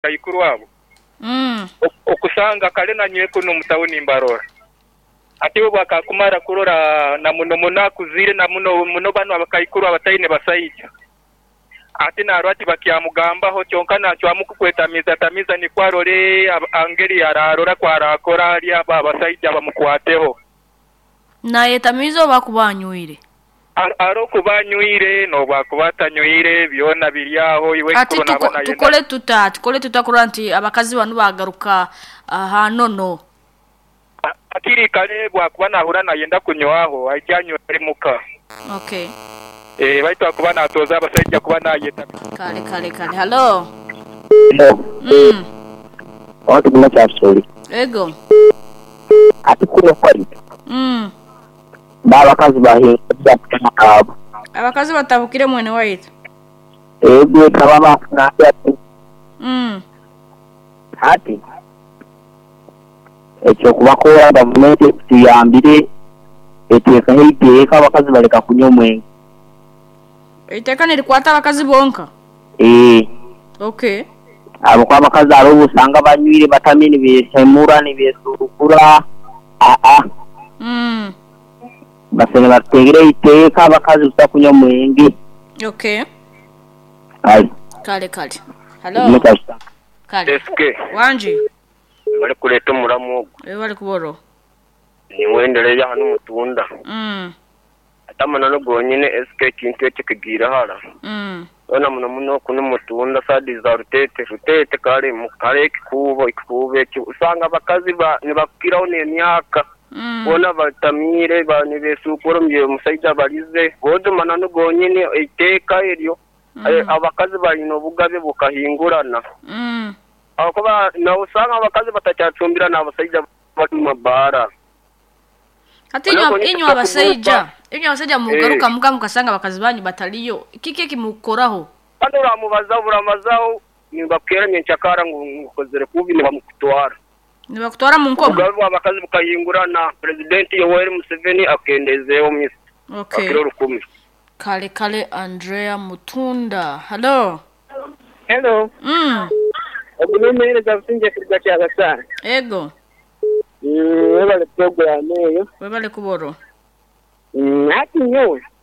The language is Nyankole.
Abakaikuru abo okusanga kale na nyowe kunu omu tawuni mbarora. Ati iwe bwakakumara kurora na muno muno akuzire na muno muno banu abakaikuru abataine basaija. Ati narora tibakyamugambaho kyonka nacwamu kukwetamiizatamiiza nikwo arore engeri ararora ku arakora ahari abo abasaija bamukwateho. Nayetamiiza oba akuba anywire? Ari okuba anywire n'obu akuba atanyweire, byona biri agho. Iwe Ati ekikuru naaba nayenda. Tukole tuta? Tukole tuta kurora nti abakazi banu baagaruka aha nono? Hakiri kare bwakuba nahurira nayenda kunywaho, aije anywere muka. Okay. Eeh baitu akuba natooza abasaija kuba nayeta. Kale kale kale. Hallo. Hello. Mm. Owaitu guma kyasuli. Ego. Ati kuno kwaitu. Mm. N'abakazi bahinga kutema abo. Abakazi batabukire mwene waitu. Ego kaba bakunambye ati. Mm. Hati eky'okubakoora gavumenti etuyambire eteekeho eiteeka abakazi baleka kunywa omwenge. Eiteeka nirikwata abakazi bonka? Eeh. Okay. Ahabw'okuba abakazi hariho obu osanga banywire batamire nibehemura nibesurukura aa. Mm. Basaine batuteereho eiteeka abakazi busa kunywa mwenge. Okay. Kale. Kale kale. Hallo. Kale. SK. Wangi. Webale kuleeta omulamwa ogwo. Webale kuba oroho. Niiwe Ndereya hanu Mutunda. Mm. Ate amananu gonyine SK ekintu ekyo kigiire hara. Mm. Hoona muno muno kunu Mutunda side za Ruteete, Ruteete kare hariho ekikuubo, ekikuubo ekyo osanga abakazi nibakukiraho n'emyaka Mm. boona batamiire nibesuukura omusaija abarize. Boojo mananu gonyine eiteeka eryo Mm. abakazi baine obugabe bukahingurana. Mm. Ahakuba nosanga abakazi batakyacumbira n'abasaija bari omu mabaara. Hati inywe abasaija, inywe abasaija mugaruka muka mukasanga abakazi banyu bataliyo, kiki ekimukoraho? Kandi oramubazaho buramazaho nibakukeera nyenkyakara ngu okozire kubi nibamukutwara. Nibakutwara mu nkomo? Obugabe bw'abakazi bukahingurana, Purezidenti Yoweri Museveni akendezeeho Mister Okay. Akira orukumi. Kale kale Andrea Mutunda. Hallo. Hello. Mm. Ogu n'omuheereza Busingye kuruga Kyabasaani. Ego. Webale puroguraamu eyo. Webale kuba orwo. Hati nyowe.